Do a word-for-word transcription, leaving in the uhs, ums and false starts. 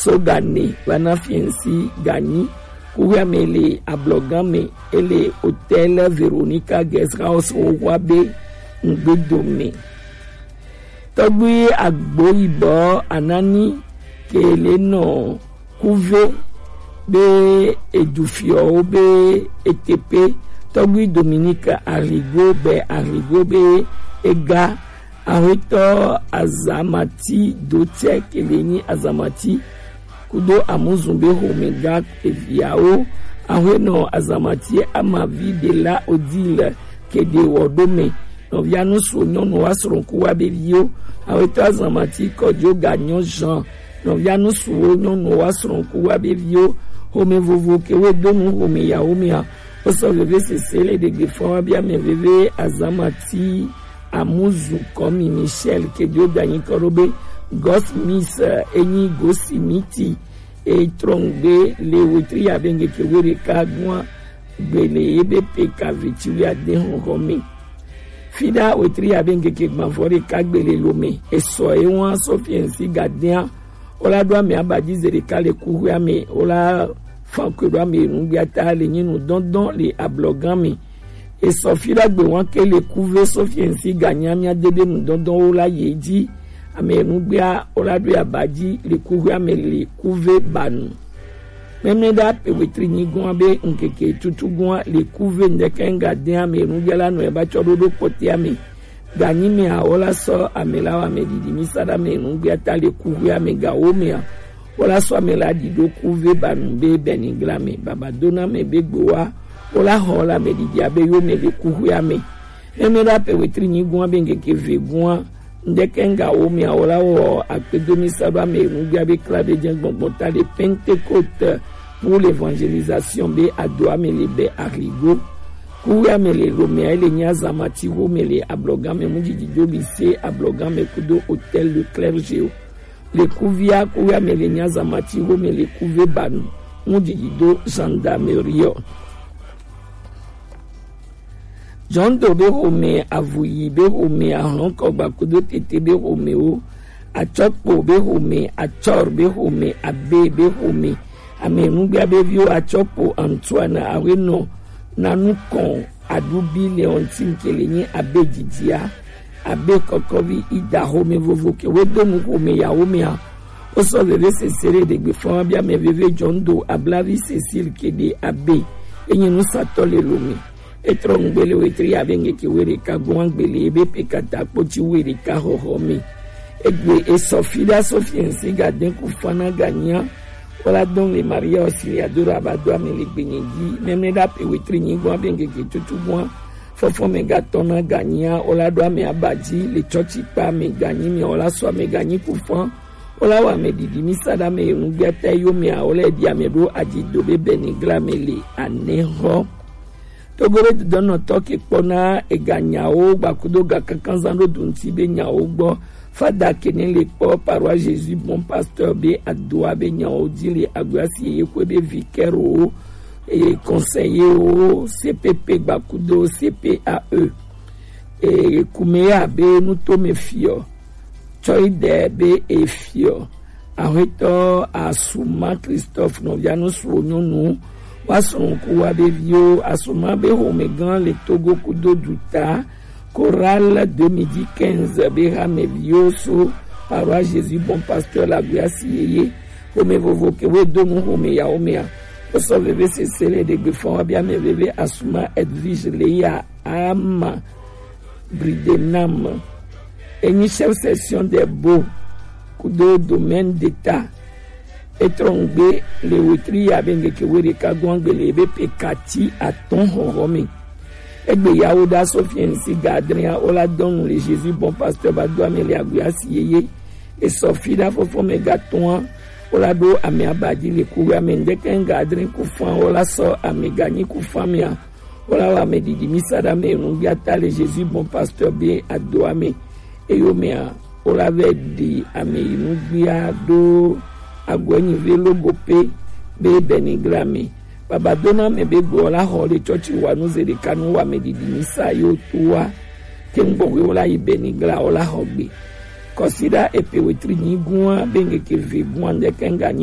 so gane vana fiɛnsi ganyi. Kuhia me le ablɔgan me, ele Hôtel Veronica Guest House wowa be ŋgbedome. Tɔgbui agbo yibɔ anani ke le nɔ kuve be edufiɔwo be etepe. Tɔgbui Dominique Arrigo be Arrigo be ega. Ahwetɔ Azamati do tsɛ ke le nyi Azamati kudo Amuzu be home ga eviawo. Ahwenɔ Azamati amavi de la Odile ke de wɔ do me. Nɔvia nusu nyɔnu wa srɔ̃ku wa be viwo. Ahwetɔ Azamati kɔjo ga nyɔ Jean. Nɔvia nusuwo nyɔnu wa srɔ̃ku wa be viwo. Home vovo ke we do nu home yawo mea. Wosɔ veve sese le ɖegbe fɔn wa bia mɛ veve Azamati Amuzu kɔmi Michel ke dio danyi kɔ ɖo be Gos Mis, eh, enyi Gosi Miti e trɔngbe le wetri ya be ŋgeke we ɖeka gua gbele ye be pe ka veti wi ade hɔhɔ me. Fida wetri ya be ŋgeke gbavɔ ɖeka gbele lo me. Esɔ ye wa sɔ fiɛnsi gadea. Wola ɖo ame aba dzi ze ɖeka le kuxoea me. Wola fan koe ɖo ame nugbea ta le nyi nu dɔndɔn le ablɔgan me. Esɔ fi ɖagbe wan ke le kuve so fiɛnsi ganya mia de be nu dɔndɔn wola ye dzi. Ame nugbea wola ɖo aba dzi le kuxoea me le kuve banu. Mɛmɛ ɖa pe wetri nyi gɔn be ŋkeke tutu gɔn le kuve ŋdɛkɛ ŋga de ame nugbea la nɔ eba tsɔ ɖo ɖo kpɔtea me. Ganyi mea, wola sɔ ame la wa ame ɖiɖi mi sa ɖa ame nugbea ta le kuxoea me gawo mea, wola sɔ ame la ɖi ɖo kuve banu be bɛnigla me. Baba dona ame be gbowa, wola xɔ la ame ɖiɖi abe yo me le kuxoea me. Mɛmɛ ɖa pe wetri nyi gua be ŋkeke ve gua, ŋdɛkɛ ŋgawo mea, wola wɔ akpedo mi sa ɖo ame nugbea be kla be jɛ gbɔngbɔn ta le Pentecôte pour l'évangélisation be adoa me le bɛ arigo. Kuxoea me le Lomé, ele nyi Azamati xo me le ablɔgan me mu didi do lycée ablɔgan me kudo hôtel de clergé o. Le kuvia kuxoea me le nyi Azamati xo me le kuve banu mu didi do gendarmerie o. Jɔndo be xome, avuyi be xome, ahlɔnkɔgba kudo tete be xome o, atsɔkpo be xome, atsɔr be xome, abe be xome, ame nugbea be viwo atsɔkpo Antoine Awenɔ nanu kɔn aɖubi Leontine ke le nyi abe didia abe kɔkɔvi ida xome vovo ke we do nu xome yawo mea. Wosɔ veve sese ɖe ɖegbe fɔn wa bia mɛ veve jɔn do ablavi Cécile ke ɖe abe enyi nusatɔ le Lomé. Etrɔ ŋgbe le wetri ya be ŋkeke we ɖeka gɔn gbele ebe pe kata kpoti we ɖeka xɔxɔ me. Egbe esɔ fi ɖa so fiɛnsi ga den ku fana ganya. Wola dɔn le Maria Auxiliadora aba do ame le gbenye dzi. Mɛmɛ ɖa pe wetri nyi gɔn be ŋkeke tutu gɔn fɔfɔ me ga tɔna ganya. Wola ɖo ame aba dzi le tsɔtsi kpa ame ganyi mea, wola sɔ ame ganyi ku fɔn. Wola wɔ ame ɖiɖi mi sa ɖa ame nugbea ta yo mea, wola ɖi ame ɖo adzido be bɛnigla me le anɛ xɔ. Togo be dodɔnɔtɔ ke kpɔna eganyawo gbakudo ga kankanzan ɖo dunti be nyawo gbɔ. Fada kene le kpɔ Paroisse Jésus Bon Pasteur be adoa be nyawo dzi le agbea si ye kwe be vicaire o, e conseiller o, C P P gbakudo C P A E. E kume ya be nutome fiɔ. Tsɔ yi ɖe be efiɔ. Ahwetɔ Asuma Christophe nɔvia nusuwo nyɔnu wa srɔ̃ku wa be viwo. Asuma be xomegã le Togo kudo duta. Chorale deux mille quinze be hameviwo so Paroisse Jésus Bon Pasteur la gbea si yeye. Xome vovo ke we do nu xome yawo mea. Wosɔ veve sese le ɖegbe fɔn wa bia ame veve Asuma Edwige le ya ama. Bridenam, enyi chef section de Bo kudo domaine d'État. Etrɔ ŋgbe le wetri ya be ŋkeke we ɖeka gɔn gbele be pe kati atɔn xɔxɔ me. Egbe yawo ɖa so fiɛnsi ga adrea wola dɔnu le Jésus Bon Pasteur ba do ame le agbea si yeye. Esɔ fi ɖa fɔfɔ me ga tɔn wola ɖo ame aba dzi le kuxoea me ŋdɛkɛ ŋga adre ku fɔn wola sɔ ame ganyi ku fɔn mea. Wola wɔ ame ɖiɖi mi sa ɖa ame nugbea ta le Jésus Bon Pasteur be adoa me. Eyo mea, wola vɛ ɖi ame yi nugbea ɖo agbɛnyi ve logo pe be bɛnigla me. Baba dona ame be gbɔ la xɔ le tsɔtsi wa nu ze ɖeka nu wɔ ame ɖiɖi mi sa yo to wa. Ke ŋgbɔ we wola yi bɛnigla wola xɔ gbe. Kɔsiɖa epe wetri nyi gua be ŋkeke ve gua ŋdɛkɛ ŋga nyi